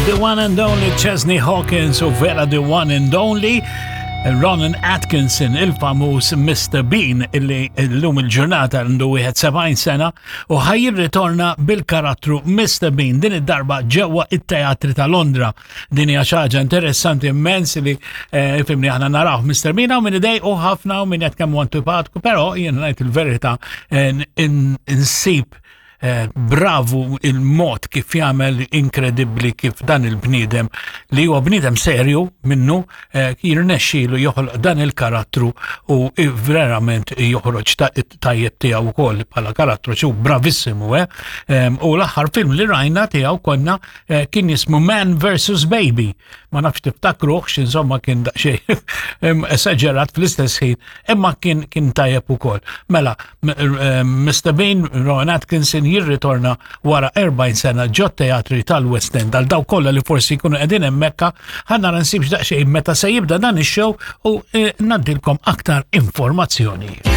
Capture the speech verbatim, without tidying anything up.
The one and only Chesney Hawkins u vera the one and only Ronan Atkinson, il-famuż Mister Bean, illi l-lum il-ġurnata għandu wieħed sebgħin sena u ħa jirritorna bil-karattru Mister Bean din id-darba ġewwa it-teatri ta' Londra. Din hija xi ħaġa interessanti immens li eh, fimni aħna naraw Mister Bean hawn min idejqu ħafna u min qed kemm antipatku, però jien ngħid il-verità, eh, insib eh, bravu il-mod kif jagħmel, inkredibbli kif dan il-bniedem li huwa bniedem serju minnu eh, jirnexxielu joħloq dan il-karattru u verament joħroġ tajjeb tiegħu wkoll bħala karattru xu bravissimu, eh. U l-aħħar film li rajna tiegħu konna eh, kien jismu Man versus. Baby. Ma nafx tiftakruh, insomma kien daqsxejn esaġerat fl-istess ħin, imma kien kien tajjeb ukoll. Mela, Mister Bean, Rowan Atkinson jirritorna wara erbgħin sena ġo teatri tal-West End. Għal dawk kollha li forsi jkunu qegħdin hemmhekk, ħa nara nsibx daqsxejn meta se jibda dan ix-show u eh, ngħaddilkom aktar informazzjoni.